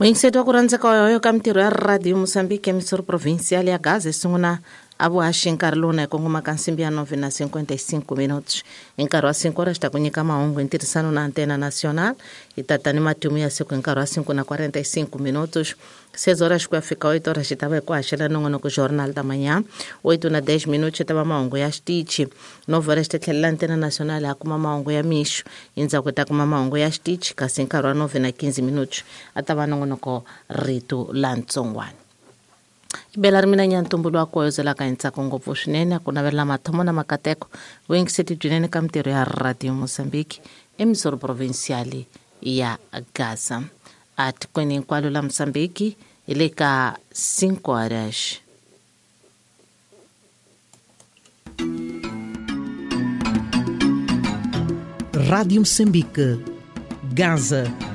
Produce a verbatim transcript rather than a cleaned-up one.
Muyingiseti wa ku rhandzeka yoyo ka mintirho ya Radio Mozambique emisoro provincial ya Gaza sungula a vuhaxi nkarhi lowu na hi kongoma ka nsimbi ya nove na cinquenta e cinco minutos. Hi nkarhi wa cinco horas xi ta ku nyika mahungu hi ntirhisano na Antena Nacional. Hi tata ni matimu ya siku hi nkarhi wa cinco na quarenta e cinco minutos. Seis horas ku ya fika oito horas xi ta va hi ku haxela nongonoko Jornal da Manhã. Oito na dez minutos xi ta va mahungu ya xitichi. Nove horas xi ta tlhelela Antena Nacional ha kuma mahungu ya mixo. Endzhaku hi ta kuma mahungu ya xitichi kasi hi nkarhi wa nove na quinze minutos a ta va nongonoko Rito la Ntsongwana. Bela ri mina Nyantumbulu wa koyozelaka hi ntsako ngopfu swinene ku navelela mathomo na makateko vuyingiseti byinene ka mintirho ya Radio Mozambique emisoro provincial ya Gaza. A tikweni hinkwalo la Mozambique hi le ka cinco horas. Rádio Moçambique, Gaza.